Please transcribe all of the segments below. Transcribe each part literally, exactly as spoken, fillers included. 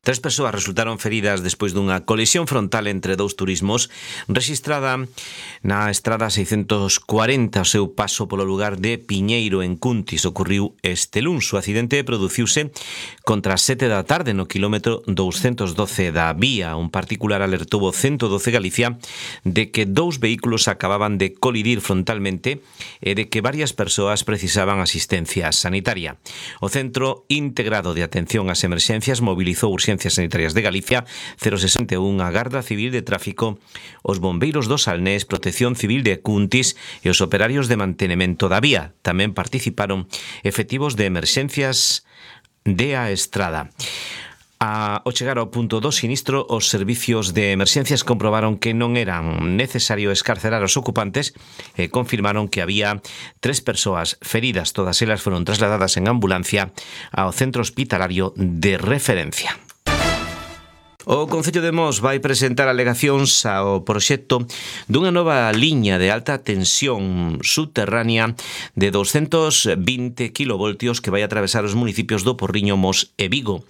Tres persoas resultaron feridas despois dunha colisión frontal entre dous turismos rexistrada na estrada seiscentos cuarenta ao seu paso polo lugar de Piñeiro, en Cuntis. Ocorriu este luns. O accidente produciuse contra as sete da tarde no quilómetro douscentos doce da vía. Un particular alertou o ciento doce Galicia de que dous vehículos acababan de colidir frontalmente e de que varias persoas precisaban asistencia sanitaria. O Centro Integrado de Atención ás Emerxencias mobilizou urxencias sanitarias de Galicia, cero sesenta e un, a Garda Civil de Tráfico, os bombeiros do Salnés, Protección Civil de Cuntis e os operarios de mantenimento da vía. Tamén participaron efectivos de emerxencias de A Estrada. A, ao chegar ao punto do sinistro, os servicios de emerxencias comprobaron que non eran necesario escarcerar os ocupantes e confirmaron que había tres persoas feridas. Todas elas foron trasladadas en ambulancia ao centro hospitalario de referencia. O Concello de Mos vai presentar alegacións ao proxecto dunha nova liña de alta tensión subterránea de doscentos vinte kilovoltios que vai atravesar os municipios do Porriño, Mos e Vigo.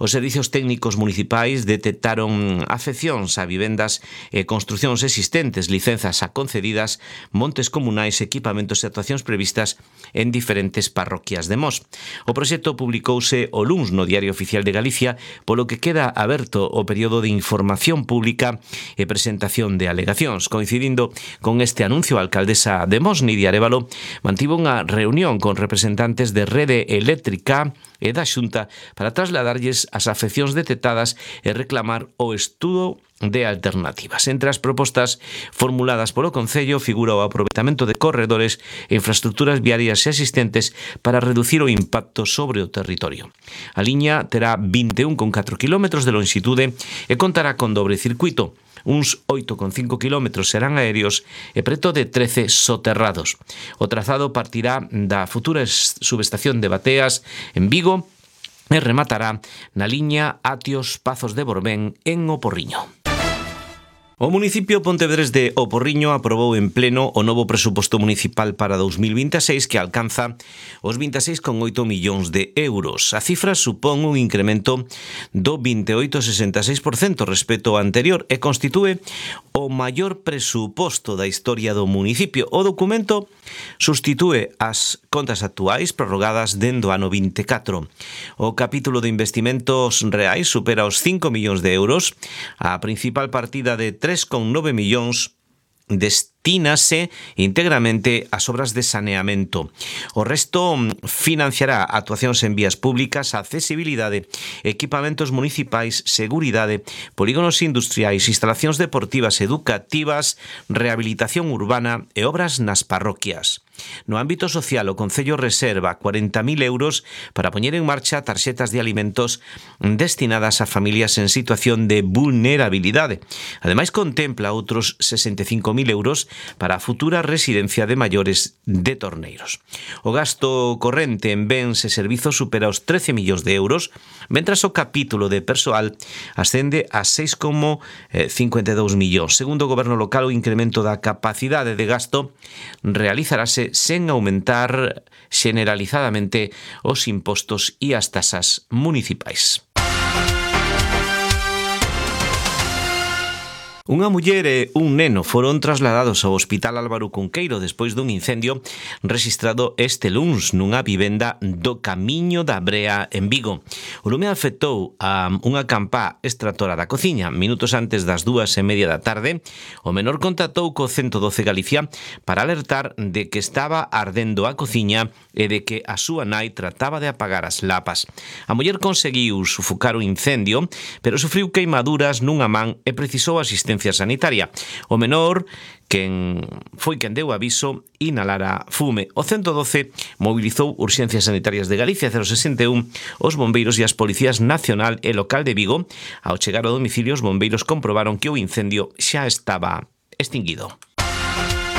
Os servicios técnicos municipais detectaron afeccións a vivendas e construcións existentes, licenzas a concedidas, montes comunais, equipamentos e actuacións previstas en diferentes parroquias de Mos. O proxecto publicouse o luns no Diario Oficial de Galicia, polo que queda aberto o período de información pública e presentación de alegacións. Coincidindo con este anuncio, a alcaldesa de Mos, Nidia Arévalo, mantivo unha reunión con representantes de Rede Eléctrica e da Xunta para trasladarlles as afeccións detectadas e reclamar o estudo de alternativas. Entre as propostas formuladas polo Concello figura o aproveitamento de corredores e infraestructuras viarias existentes para reducir o impacto sobre o territorio. A liña terá vinte e un coma catro kilómetros de longitude e contará con dobre circuito. Uns oito coma cinco kilómetros serán aéreos e preto de trece soterrados. O trazado partirá da futura subestación de Bateas en Vigo e rematará na liña Atios Pazos de Borbén en O Porriño. O municipio pontevedrés de O Porriño aprobou en pleno o novo presuposto municipal para dous mil vinte e seis que alcanza os vinte e seis coma oito millóns de euros. A cifra supón un incremento do vinte e oito coma sesenta e seis por cento respecto ao anterior e constitúe o maior presuposto da historia do municipio. O documento sustitúe as contas actuais prorrogadas dende o ano vinte e catro. O capítulo de investimentos reais supera os cinco millóns de euros. A principal partida de tres coma nove millóns destínase íntegramente ás obras de saneamento. O resto financiará actuacións en vías públicas, accesibilidade, equipamentos municipais, seguridade, polígonos industriais, instalacións deportivas, educativas, rehabilitación urbana e obras nas parroquias. No ámbito social, o Concello reserva cuarenta mil euros para poñer en marcha tarxetas de alimentos destinadas a familias en situación de vulnerabilidade. Ademais, contempla outros sesenta e cinco mil euros para a futura residencia de maiores de Torneiros. O gasto corrente en bens e servizos supera os trece millóns de euros, mentras o capítulo de persoal ascende a seis coma cincuenta e dous millóns. Segundo o Goberno local, o incremento da capacidade de gasto realizarase sen aumentar generalizadamente os impostos e as tasas municipais. Unha muller e un neno foron trasladados ao Hospital Álvaro Cunqueiro despois dun incendio rexistrado este luns nunha vivenda do Camiño da Brea en Vigo. O lume afectou a unha campá extractora da cociña. Minutos antes das dúas e media da tarde, o menor contactou co ciento doce Galicia para alertar de que estaba ardendo a cociña e de que a súa nai trataba de apagar as lapas. A muller conseguiu sufocar o incendio, pero sufriu queimaduras nunha man e precisou asistencia sanitaria. O menor, quen foi quen deu aviso, inhalara fume. O ciento doce mobilizou Urxencias Sanitarias de Galicia, cero sesenta e un, os bombeiros e as policías nacional e local de Vigo. Ao chegar ao domicilio, os bombeiros comprobaron que o incendio xa estaba extinguido.